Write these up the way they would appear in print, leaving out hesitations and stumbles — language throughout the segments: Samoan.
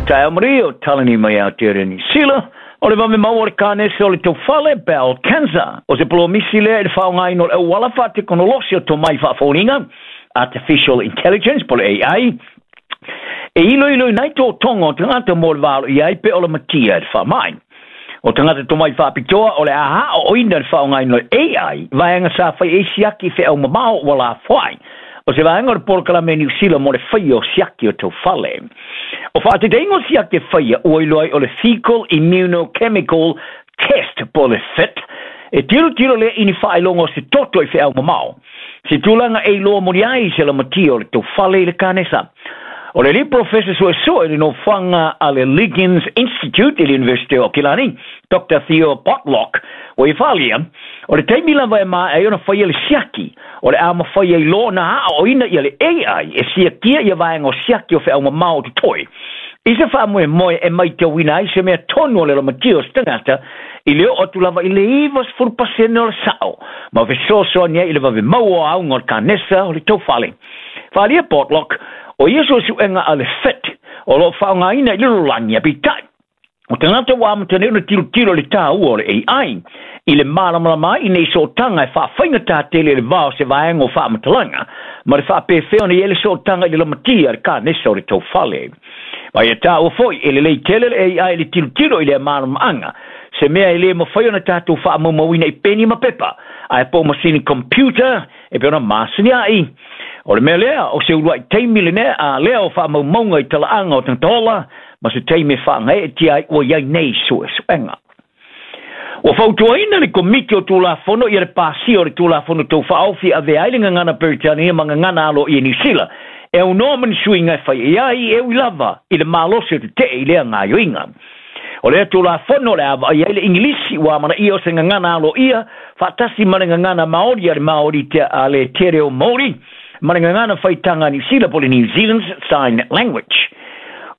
Taeao manuia o Talani mai Aotearoa Niu Sila. O le vave maua o le kanesa o le taufale, bowel cancer. O se polomisi lea i le faaaogaina o le auala faatekonolosi o tomai faafoliga, artificial intelligence po o le AI, e iloiloina ai totoga o tagata mo le va alo i ai pe o lamatia i le faamai. O tagata tomai faapitoa o le a aoaoina le faaaogaina o le AI, vaega sa fai ai siaki feau mamao ua lafoai. O se vaega o le polokalame a Niu Sila mo le faia o siaki o taufale. O faataitaiga o siaki e faia ua iloa ai o le Fecal Immunochemical Test po o le FIT, e tilotilo lea i ni faailoga o se toto i feau mamao. Se tulaga e iloa moni ai se lamatia o le taufale i le kanesa. O le alii polofesa suesue i le nofoaga a le Liggins Institute i le University o Aukilani, Doctor Theo Botlock, ua ia faaalia, o le taimi lava e maea ai ona faia le siaki, o le a mafai ai loa ona aoaoina ia le AI e siakia ia vaega o siaki o feau mamao o totoe. I se faamoemoe e maitauina ai se mea tonu o le lamatia o se tagata i le oo atu lava i le 90% o le sao ma fesoasoani ai i le vave maua o auga o le kanesa o le taufale. Faaalia Portlock, o ia suesuega a le FIT o lo o faaaogaina i le lalolagi, ae peitai, o tagata ua amata nei ona tilotilo i le taua o le AI i le malamalama ai i nei sootaga e faafaigata tele i le va o se vaega o faamatalaga ma le faapefea ona i ai le sootaga i le lamatia a le kanesa o le taufale. Ma ia taua foi, e lelei tele le AI i le tilotilo i lea malamaaga, se mea e le mafai ona tatou faamaumauina i peni ma pepa, ae po o masini computer e pei ona masani ai. O le mea lea, o se uluai taimi lenei a lea o faamaumauga i talaaga o tagata ola, ma se taimi e faagaeetia ai ua i ai nei suesuega. Ua fautuaina le Komiti o Tulafono ia le pasia o le Tulafono Tau Faaofi e avea ai le gagana Peretania ma gagana aloaia i Niu Sila e aunoa ma ni suiga e fai i ai e ui lava i le malosi o tetee i lea gaoioiga. O lea Tulafono o le a vaai ai le Igilisi ua amanaia o se gagana aloaia faatasi ma le gagana Maori a le Maori te a le Te Reo Maori ma le gagana faitaga a Niu Sila po o le New Zealand's Sign Language.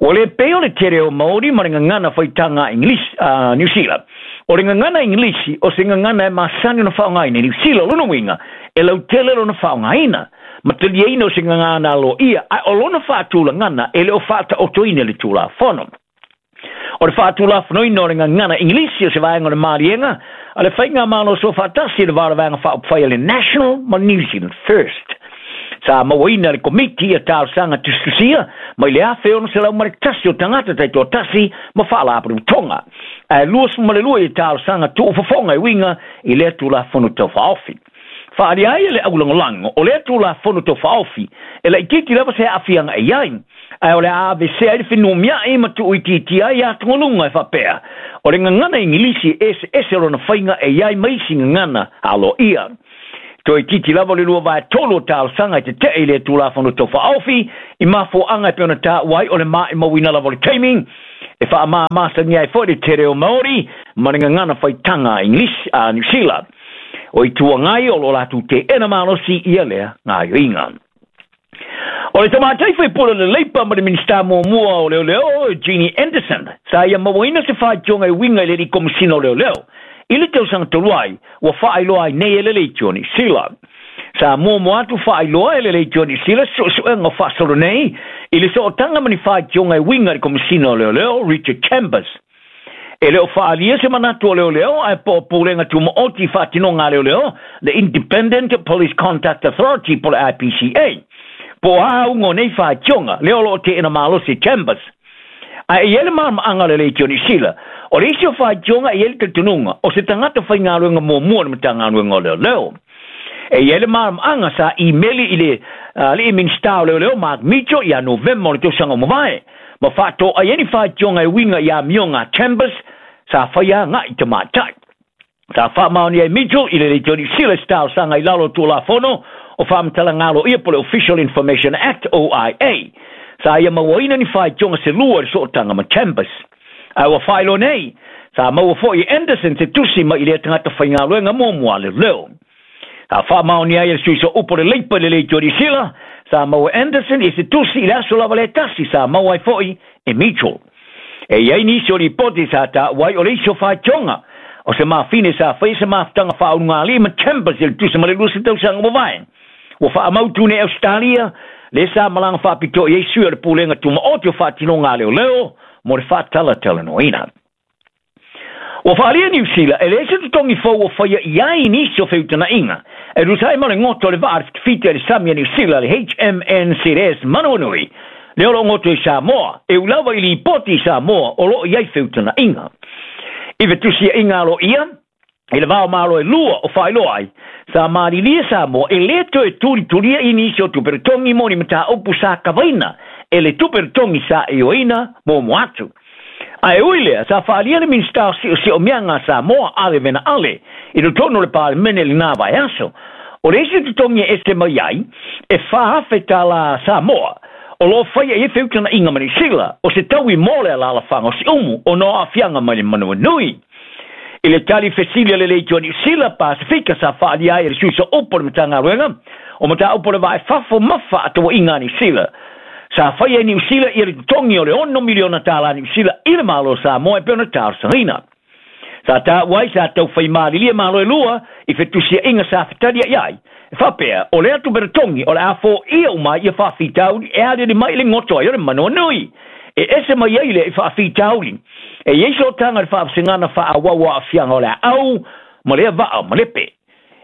Ua le pei o le Te Reo Maori ma le gagana faitaga a Igilisi a Niu Sila. O le gagana Igilisi o se gagana e masani ona faaaogaina i Niu Sila, o lona uiga e lautele lona faaaogaina ma taliaina o se gagana aloaia, ae o lona faatulagana e le o faataotoina i le Tulafono. O le faatulafonoina o le gagana Igilisi o se vaega o le maliega a le Faigamalo Soofaatasi i le va o le Vaega Faaupufai a le National ma le New Zealand First. Sa mauaina e le Komiti ia talosaga tusitusia mai le 1,601 o tagata taitoatasi ma faalapotopotoga, ae 22 ia talosaga tuufofoga e uiga i lea Tulafono Tau Faaofi. Faaalia ai e le aulagolago o lea Tulafono Tau Faaofi e laitiiti lava se aafiaga e i ai, ae o le a aveesea ai le fenumiai ma tuuitiitia ai atugaluga e faapea, o le gagana Igilisi e eseese lona faiga e i ai ma isi gagana aloaia. Toeitiiti lava le 2/3 o talosaga e tetee i lea Tulafono Tau Faaofi i mafuaaga e pei ona taua ai o le maimauina lava o le taimi e faamāmāsania ai foi le te reo Māori ma le gagana faitaga a Igilisi a Niu Sila. O Itu Agai o lo o latou teena malosi ia lea gaoioiga. O le tamaitai faipule o le Leipa ma le Minisita muamua o Leoleo, Jeannie Anderson, sa ia mauaina se faitioga e uiga i le alii Komesina o Leoleo i le tausaga talu ai, ua faailoa ai nei e le Leitio Niu Sila. Sa muamua atu faailoa e le Leitio Niu Sila se suesuega o faasolo nei i le sootaga ma ni faitioga e uiga i le Komesina o Leoleo, Richard Chambers. E le o faaalia se manatu o leoleo ae po o Pulega Tumaoti i Faatinoga a Leoleo, the Independent Police Conduct Authority po o le IPCA. Po o a auga o nei faitioga, lea o lo o teena malosi e Chambers. Ae e i ai le malamaanga o le Leitio Niu Sila, o le isi o faitioga e i ai le talitonuga, o se tagata faigaluega muamua o le Matagaluega o Leoleo. E i ai le malamaanga sa imeli i le alii Minisita o Leoleo Mark Mitchell ia Novema o le tausaga ua mavae, ma faatoai ai ni faitioga e uiga i amioga a Chambers sa faia agai i tamaitai. Sa faamaonia e Mitchell i le Leitio Niu Sila se talosaga i lalo o Tulafono o Faamatalaga Aloaia po o le Official Information Act, OIA. Sa ia mauaina ni faitioga se lua i le sootaga ma Chambers. Ae ua faailoa nei, sa maua foi e Anderson se tusi mai i lea tagata faigaluega muamua a leoleo. Sa faamaonia ai e le sui sooupu o le Leipa i le Leitio Niu Sila, sa maua e Anderson i se tusi i le aso lava le tasi sa maua ai foi e Mitchell. E i ai nisi o lipoti sa taua ai o le isi o faitioga o se mafine sa faia se mafutaga faaulugalii ma Chambers i le tusa ma le 20 tausaga ua mavae. Ua faamautu nei Ausetalia, lea sa malaga faapitoa i ai sui o le Pulega Tumaoti o Faatinoga a Leoleo mo le faatalatalanoaina. Ua faaalia Niu Sila e leai se totogi fou o faia i ai nisi o feutagaiga e tusa ai ma le goto o le vaa fitafita i le sami a Niu Sila, le HMNZS Manawanui, lea o loo goto i Samoa, e ui lava i lipoti i Samoa o loo i ai feutagaiga. I fetusiaiga aloaia i le va o Malo e lua o faailoa ai, sa malilie Samoa e lē toe tulitulia i nisi o tupe totogi mo ni mataupu sa kavaina e le tupe totogi sa ioeina muamua atu. Ae ui lea, sa faaalia le Minisita o Siosiomiaga a Samoa, Ale Vena Ale, i totonu o le Palemene i lenā vaiaso, o le isi totogi e ese mai ai, e 4,000 tālā Samoa, o loo faia i ai feutagaiga ma Niu Sila, o se taui mo le alaalafaga o Siumu ona o aafiaga mai le manawanui. I le tali fesili a le Leitio a Niu Sila Pasefika sa faaalia ai e le sui sooupu o le Matagaluega o Mataupu o le Va i Fafo ma Faatauaiga a Niu Sila, sa faia e Niu Sila ia le totogi o le $6 miliona tālā Niu Sila i le Malo o Samoa e pei ona talosagaina. Sa taua ai sa taufai malilie Malo e lua i fetusiaiga sa fetaliai ai, e faapea o lea tupe totogi o le a foia uma ai ia faafitauli e aliali mai i le goto ai o le manawanui. E ese mai ai lea i faafitauli e i ai sootaga i le faavasegana faaauau o aafiaga o le aau ma lea vaa o malepe.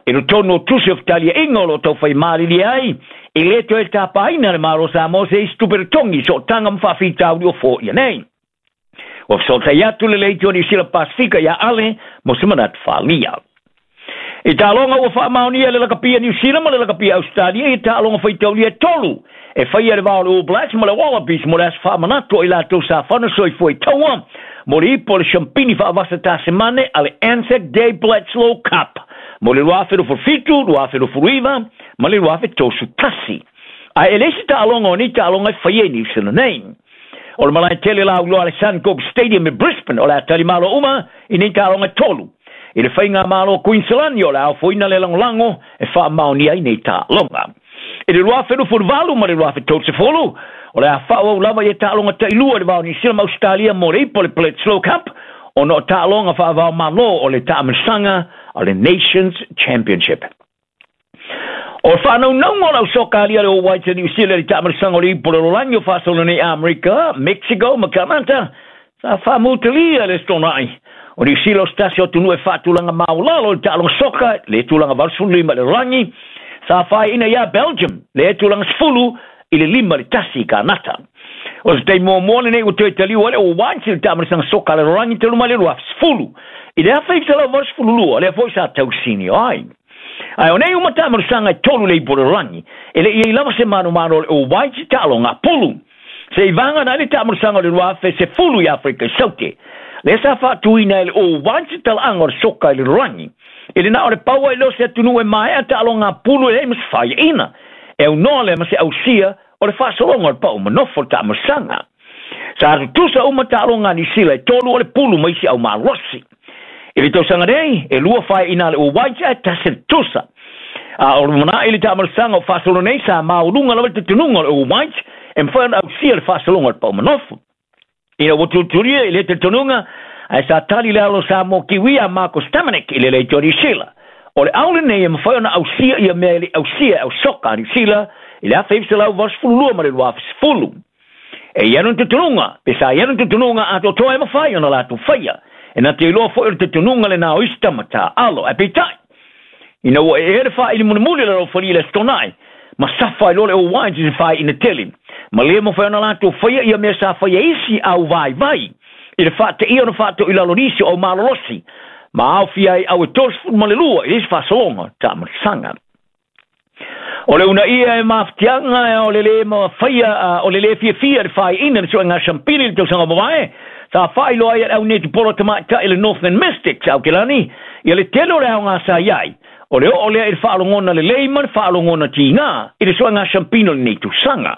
I totonu o tusi o fetaliaiga o loo taufai malilie ai, e lē toe tapaina le Malo o Samoa se isi tupe totogi i sootaga ma faafitauli o foia nei. Ua fesootai atu le Leitio Niu Sila Pasefika iā Ale mo se manatu faaalia. I taaloga ua faamaonia e le Lakapia Niu Sila ma le Lakapia Ausetalia ia taaloga faitaulia e tolu e faia i le va o le All Blacks ma le Wallabies mo le aso faamanatu o i latou sa fana soifua i taua mo le ipu o le Siampini faavasa Tasemane a le Anzac Day Bledisloe Cup mo le 2027, 2029 ma le 2031. Ae e leai se taaloga o nei taaloga e faia i Niu Sila nei. O le malae tele lauiloa a le Suncorp Stadium i Brisbane o le a talimalo uma i nei taaloga e tolu. I le faigamalo Kuiniselani o le a ofoina le lagolago e faamaonia ai nei taaloga. I le 2028 ma le 2030, o le a faaauau lava ia taaloga tailua i le va o Niu Sila ma Ausetalia mo le ipu o le Bledisloe Cup ona o taaloga faava-o-Malo o le taamilosaga a le Nations Championship. O le faanaunauga o le au soka alia le All Whites a Niu Sila i le taamilosaga o le ipu o le lalolagi o faasolo nei Amerika, Mexico ma Kanata, sa faamutalia le Aso Toonai. O Niu Sila o se tasi o atunuu e faatulaga maualalo i le taaloga soka, le tulaga 85 i le lalolagi, sa faiaina iā Belgium, le tulaga 10 i le 5-1 i Kanata. O se taimi muamua lenei ua toe taliu ai le All Whites i le taamilosaga soka a le lalolagi talu mai le 2010. I le 1982, lea foi sa tausini ai. Ae o nei uma taamilosaga e tolu le ipu o le lalolagi, e le i ai lava se manumanu o le All Whites i taaloga a pulu. Se i vagana ai le taamilosaga o le 2010 i Afrika i Saute, lea sa faatuina e le All Whites le talaaga o le soka i le lalolagi. E le na o le pau ai lea o se atunuu e maea taaloga a pulu e leai ma se faiaina. E aunoa lea ma se ausia o le faasologa o le pau manofo o le taamilosaga. Sa tutusa uma taaloga a Niu Sila e tolu o le pulu ma isi au malosi. I le tausaga nei, e lua faiaina a le All Whites ae tasi le tutusa. A o lumanai le taamilosaga o faasolo nei, sa maualuga lava le talitonuga o le All Whites e mafai ona ausia le faasologa o le pau manofo. Ina ua tulitulia i le talitonuga, ae sa tali le alo Samoa Kiwi a Marko Stamenic i le Leitio a Niu Sila. O le ao lenei e mafai ona ausia ia mea e le i ausia e au soka a Niu Sila i le 1982 ma le 2010. E i ai lona talitonuga, pe sa i ai lona talitonuga atoatoa e mafai ona latou faia. E na te iloa foi o le talitonuga lenā o isi tama taaalo. Ae peitai, ina ua ee le faaili mulimuli o le alofalia i le Aso Toonai, ma safa ai loa le All Whites i se faaiina tele, ma le mafai ona latou faia ia mea sa faia e isi au vaivai i le faateia ona faatoilalo nisi o au malolosi, ma aofia ai au e 32 i le isi faasologa taamilosaga. O le uunaia e mafatiaga o le lē mafaia o le lē fiafia i le faaiina le suega siampili i le tausaga ua mavae, sa faailoa ai e le au netipolo tamaitai le Northland Mystics a Aukilani ia le tele o le aoga sa i ai, o le oo lea i le faalogona lelei ma le faalogona tigā i le suega siampina o lenei tausaga.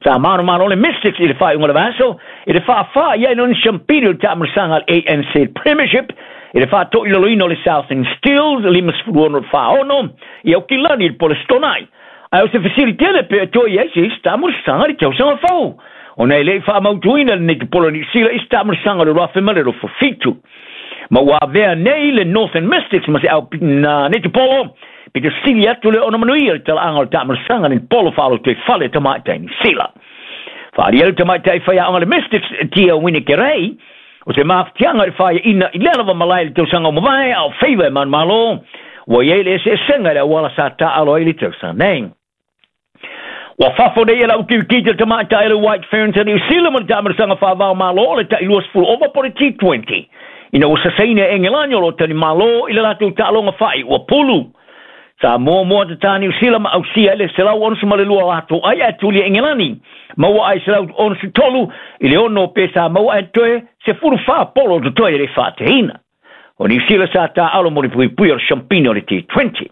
Sa manomano le Mystics i le faaiuga o le vaiaso i le faafā i ai lona siampini o le taamilosaga a le ANZ Premiership i le faatoilaloina o le Southern Steels 56-46 i Aukilani i le po o le Aso Toonai. Ae o se fesili tele pe toe i ai se isi taamilosaga i le tausaga fou, ona e le i faamautuina le netipolo Niu Sila i se taamilosaga o le 2027. Ma ua avea nei le Northern Mystics ma se au na netipolo pito sili atu le ona manuia i le talaaga o le taamilosaga netipolo faalotoifale tamaitai Niu Sila. Faaalia le tamaitai faiaoga le Mystics Tia Winikerei, o se mafatiaga i le faiaina i lea lava malae i le tausaga ua mavae a o faiva e manumalo, ua i ai le eseesega i le auala sa taaalo ai le tausaga nei. Ua fafo nei e le au kirikiti le tamaitai o le White Ferns a Niu Sila mo le taamilosaga faavao malo o le tai 20 ova po o le T20 ina ua sasaina e Engelani o lo o talimalo i le latou taaloga faaiu pulu. Sa muamua tatā Niu Sila ma ausia i le 162 o latou ai ae tuli e Engelani maua ai 163 i le 6 pe sa maua ae toe 14 polo totoe e le faateina. O Niu Sila sa taaalo mo le puipui o le siampina o le T20.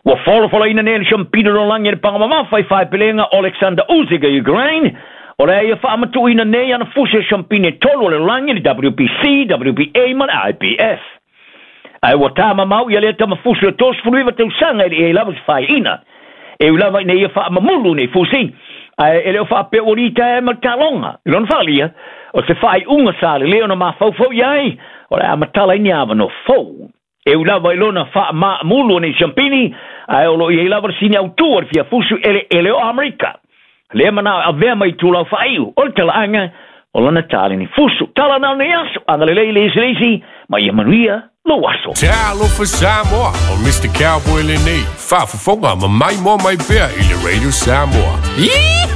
Ua folafolaina nei le siampina o lalolagi e le paga mamafa i faepelega Oleksandr Usyk o Ukraine, o le a ia faamatuuina nei ana fusi o siampina e tolu o le lalolagi, le WBC, WBA ma le IBF. Ae ua ta mamao ia lea tama fusi o 39 tausaga e le i ai lava se faaiina. E ui lava ina ia faamamulu nei fusi, ae e le o faapea ua litaea ma le taaloga. I lona faaalia, o se faaiuga sa lelei ona mafaufau i ai, o le a matala ai ni avanoa fou. E ui lava i lona faamaamulu o nei siampini, ae o lo o i ai lava le sini autu o le fia fusu eleele o Amerika. Lea manao e avea ma itulau faaiu o le talaaga o lana taleni fusu. Tala na o nei aso, agalelei i le isi le isi, ma ia manuia lou aso. Talofa Samoa, o Mister Cowboy lenei, faafofoga ma maimoa mai pea i le Radio Samoa.